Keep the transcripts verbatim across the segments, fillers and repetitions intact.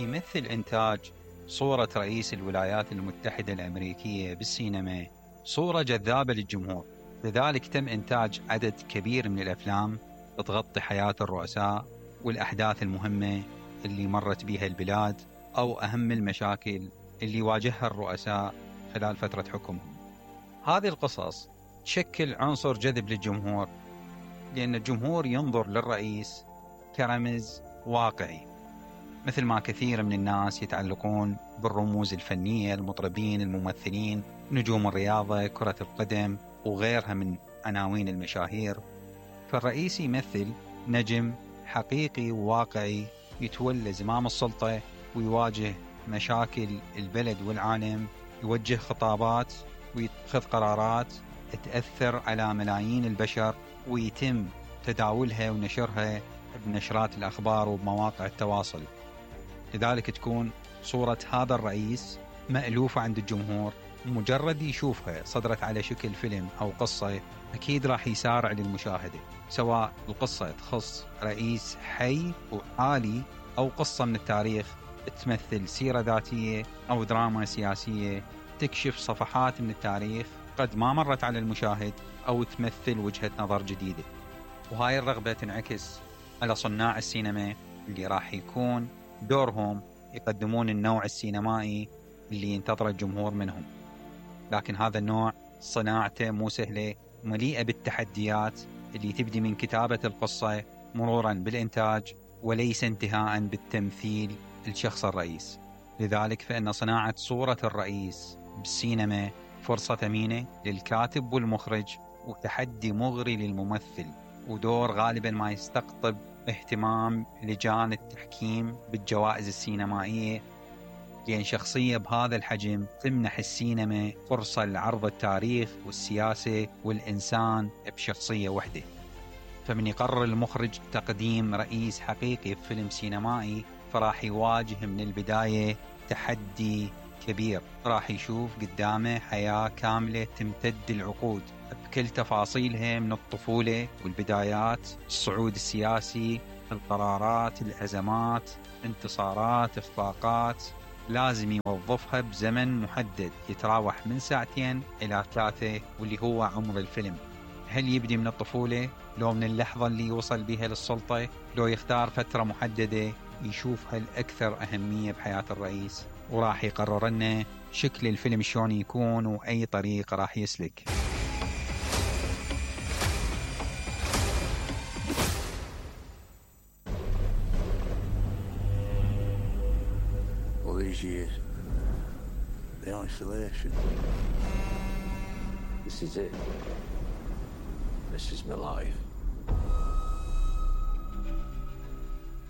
يمثل إنتاج صورة رئيس الولايات المتحدة الأمريكية بالسينما صورة جذابة للجمهور، لذلك تم إنتاج عدد كبير من الأفلام تغطي حياة الرؤساء والأحداث المهمة اللي مرت بها البلاد أو أهم المشاكل اللي واجهها الرؤساء خلال فترة حكمهم. هذه القصص تشكل عنصر جذب للجمهور، لأن الجمهور ينظر للرئيس كرمز واقعي، مثل ما كثير من الناس يتعلقون بالرموز الفنية، المطربين، الممثلين، نجوم الرياضة، كرة القدم وغيرها من عناوين المشاهير. فالرئيس يمثل نجم حقيقي وواقعي يتولى زمام السلطة ويواجه مشاكل البلد والعالم، يوجه خطابات ويتخذ قرارات تأثر على ملايين البشر ويتم تداولها ونشرها بنشرات الأخبار وبمواقع التواصل. لذلك تكون صورة هذا الرئيس مألوفة عند الجمهور، مجرد يشوفها صدرت على شكل فيلم أو قصة أكيد راح يسارع للمشاهدة، سواء القصة تخص رئيس حي وعالي أو قصة من التاريخ تمثل سيرة ذاتية أو دراما سياسية تكشف صفحات من التاريخ قد ما مرت على المشاهد أو تمثل وجهة نظر جديدة. وهاي الرغبة تنعكس على صناع السينما اللي راح يكون دورهم يقدمون النوع السينمائي اللي ينتظر الجمهور منهم. لكن هذا النوع صناعته مو سهلة، مليئة بالتحديات اللي تبدي من كتابة القصة مرورا بالإنتاج وليس انتهاء بالتمثيل الشخص الرئيس. لذلك فإن صناعة صورة الرئيس بالسينما فرصة ثمينة للكاتب والمخرج وتحدي مغري للممثل، ودور غالبا ما يستقطب اهتمام لجان التحكيم بالجوائز السينمائية، لأن شخصية بهذا الحجم تمنح السينما فرصة لعرض التاريخ والسياسة والإنسان بشخصية وحدة. فمن يقرر المخرج تقديم رئيس حقيقي في فيلم سينمائي فراح يواجه من البداية تحدي كبير، راح يشوف قدامه حياة كاملة تمتد العقود بكل تفاصيلها، من الطفولة والبدايات، الصعود السياسي، القرارات، الأزمات، انتصارات، إخفاقات، لازم يوظفها بزمن محدد يتراوح من ساعتين إلى ثلاثة واللي هو عمر الفيلم. هل يبدي من الطفولة لو من اللحظة اللي يوصل بها للسلطة، لو يختار فترة محددة يشوفها الأكثر أهمية بحياة الرئيس، وراح يقرر لنا شكل الفيلم شلون يكون وأي طريق راح يسلك. All these years, the isolation. This is it. This is my life.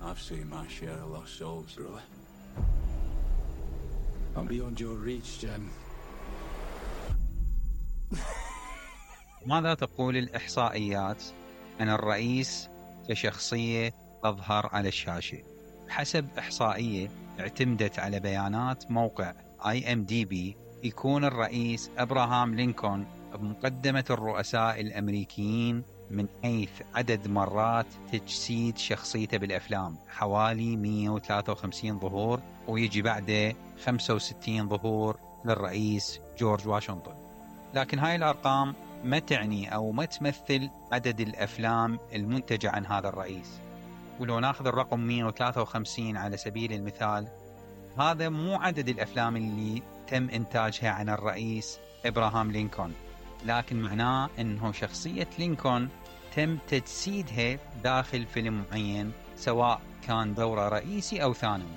I've seen my share of lost souls, brother. I'm beyond your reach, Jem. ماذا تقول الإحصائيات عن الرئيس كشخصية تظهر على الشاشة؟ حسب إحصائية اعتمدت على بيانات موقع آي إم دي بي، يكون الرئيس إبراهام لينكولن بمقدمة الرؤساء الأمريكيين من حيث عدد مرات تجسيد شخصيته بالأفلام، حوالي مئة وثلاثة وخمسين ظهور، ويجي بعده خمسة وستين ظهور للرئيس جورج واشنطن. لكن هاي الأرقام ما تعني أو ما تمثل عدد الأفلام المنتجة عن هذا الرئيس. ولو ناخذ الرقم مئة وثلاثة وخمسين على سبيل المثال، هذا مو عدد الأفلام اللي تم إنتاجها عن الرئيس إبراهام لينكولن، لكن معناه أنه شخصية لينكولن تم تجسيدها داخل فيلم معين، سواء كان دوره رئيسي أو ثانوي،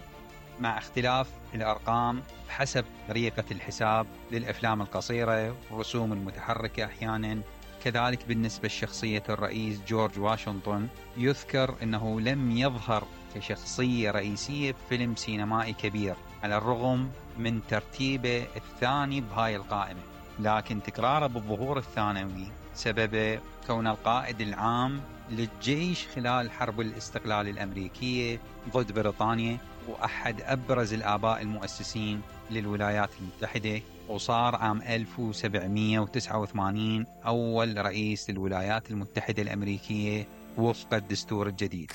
مع اختلاف الأرقام حسب طريقة الحساب للأفلام القصيرة والرسوم المتحركة أحيانا. كذلك بالنسبة لشخصية الرئيس جورج واشنطن، يذكر أنه لم يظهر كشخصية رئيسية بفيلم سينمائي كبير على الرغم من ترتيبه الثاني بهاي القائمة، لكن تكراره بالظهور الثانوي سبب كون القائد العام للجيش خلال حرب الاستقلال الأمريكية ضد بريطانيا، وأحد أبرز الآباء المؤسسين للولايات المتحدة، وصار عام ألف وسبعمئة وتسعة وثمانين أول رئيس للولايات المتحدة الأمريكية وفق الدستور الجديد.